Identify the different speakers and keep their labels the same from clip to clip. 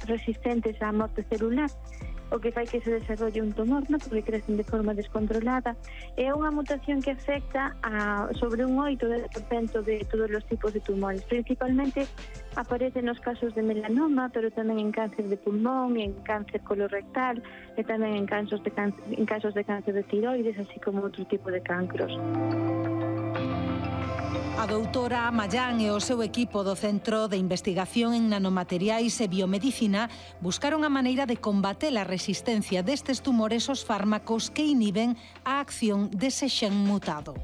Speaker 1: resistentes á morte celular, o que fai que se desarrolle un tumor, ¿no? Porque crecen de forma descontrolada. É unha mutación que afecta a sobre un 8% de todos os tipos de tumores. Principalmente aparece nos casos de melanoma, pero tamén en cáncer de pulmón, en cáncer colorectal e tamén en casos de cáncer de tiroides, así como outro tipo de cancros.
Speaker 2: A doutora Amallán e o seu equipo do Centro de Investigación en Nanomateriais e Biomedicina buscaron a maneira de combater a resistencia destes tumores aos fármacos que inhiben a acción dese xen mutado.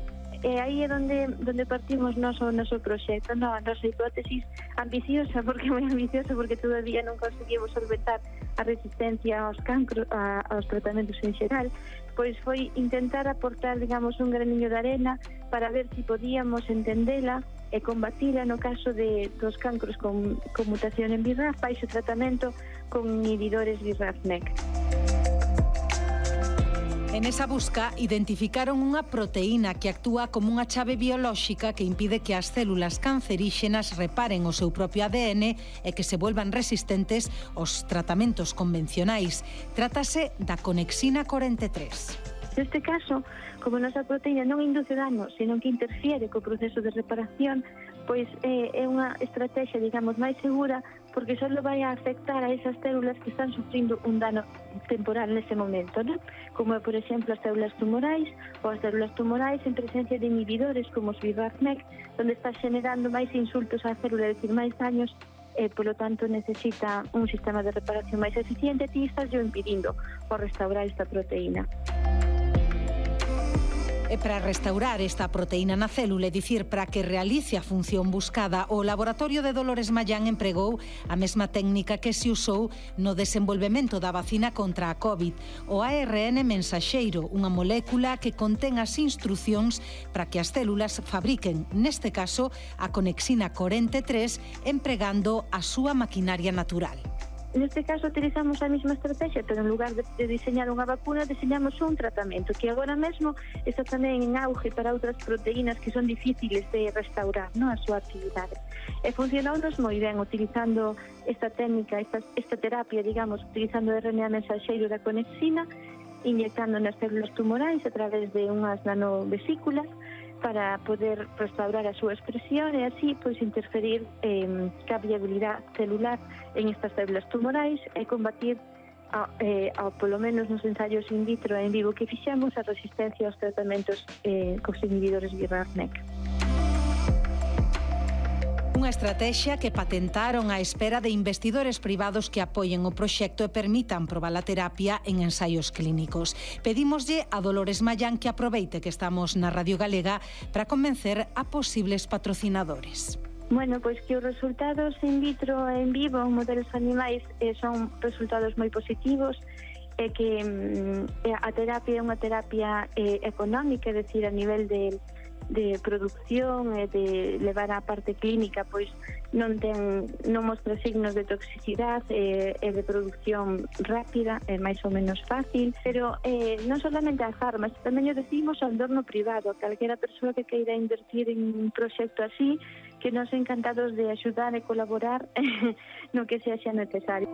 Speaker 1: E aí é onde partimos o noso proxecto, a nosa hipótesis ambiciosa, porque moi ambiciosa, porque todavía non conseguimos solventar a resistencia aos cancros, aos tratamentos en xeral, pois foi intentar aportar, digamos, un graniño de arena para ver se podíamos entendela e combatila no caso dos cancros con mutación en BRAF, baixo tratamento con inhibidores BRAF/MEK.
Speaker 2: En esa busca identificaron unha proteína que actúa como unha chave biolóxica que impide que as células canceríxenas reparen o seu propio ADN e que se volvan resistentes aos tratamentos convencionais. Trátase da conexina 43.
Speaker 1: Neste caso, como a nosa proteína non induce dano, senón que interfiere co proceso de reparación, pois é unha estrategia, digamos, máis segura, porque só vai a afectar a esas células que están sufrindo un dano temporal nese momento, ¿no? Como, por exemplo, as células tumorais ou as células tumorais en presencia de inhibidores como os BRAF/MEK, onde está generando máis insultos á célula, é dicir, máis daños, e, polo tanto, necesita un sistema de reparación máis eficiente, e estás yo impedindo o restaurar esta proteína.
Speaker 2: E para restaurar esta proteína na célula, é dicir, para que realice a función buscada, o laboratorio de Dolores Mallán empregou a mesma técnica que se usou no desenvolvemento da vacina contra a COVID, o ARN mensaxeiro, unha molécula que contén as instrucións para que as células fabriquen, neste caso, a conexina 43, empregando a súa maquinaria natural.
Speaker 1: Neste caso utilizamos a mesma estrategia, pero en lugar de diseñar unha vacuna, diseñamos un tratamento que agora mesmo está tamén en auge para outras proteínas que son difíciles de restaurar, a súa actividade. E funcionounos moi ben utilizando esta técnica, esta terapia, digamos, utilizando o RNA mensaxeiro da conexina, inyectando nas células tumorais a través de unhas nanovesículas, para poder restaurar a súa expresión e así pois interferir ca viabilidade celular en estas células tumorais e combatir polo menos nos ensaios in vitro e en vivo que fixemos a resistencia aos tratamentos cos inhibidores BRAF/MEK.
Speaker 2: Unha estratexia que patentaron á espera de investidores privados que apoien o proxecto e permitan probar a terapia en ensaios clínicos. Pedímoslle a Dolores Mallán que aproveite que estamos na Radio Galega para convencer a posibles patrocinadores.
Speaker 1: Bueno, pois que os resultados in vitro e en vivo en modelos animais son resultados moi positivos e que a terapia é unha terapia económica, é dicir, a nivel de producción e de levar á parte clínica, pois non mostra signos de toxicidade e de producción rápida, é máis ou menos fácil, pero non solamente as armas, tamén o decimos ao entorno privado, a calquera persoa que queira invertir en un proxecto así, que nos encantados de axudar e colaborar no que sexa necesario.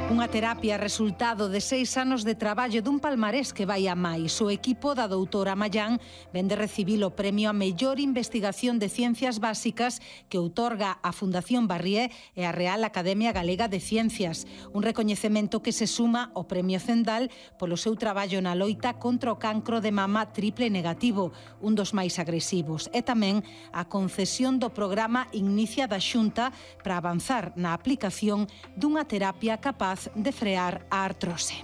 Speaker 2: Unha terapia resultado de 6 anos de traballo dun palmarés que vai a máis. O equipo da doutora Mallán vén de recibir o premio a mellor investigación de ciencias básicas que outorga a Fundación Barrié e a Real Academia Galega de Ciencias. Un recoñecemento que se suma ao premio Cendal polo seu traballo na loita contra o cancro de mama triple negativo, un dos máis agresivos. E tamén a concesión do programa Ignicia da Xunta para avanzar na aplicación dunha terapia capaz de frear a artrose.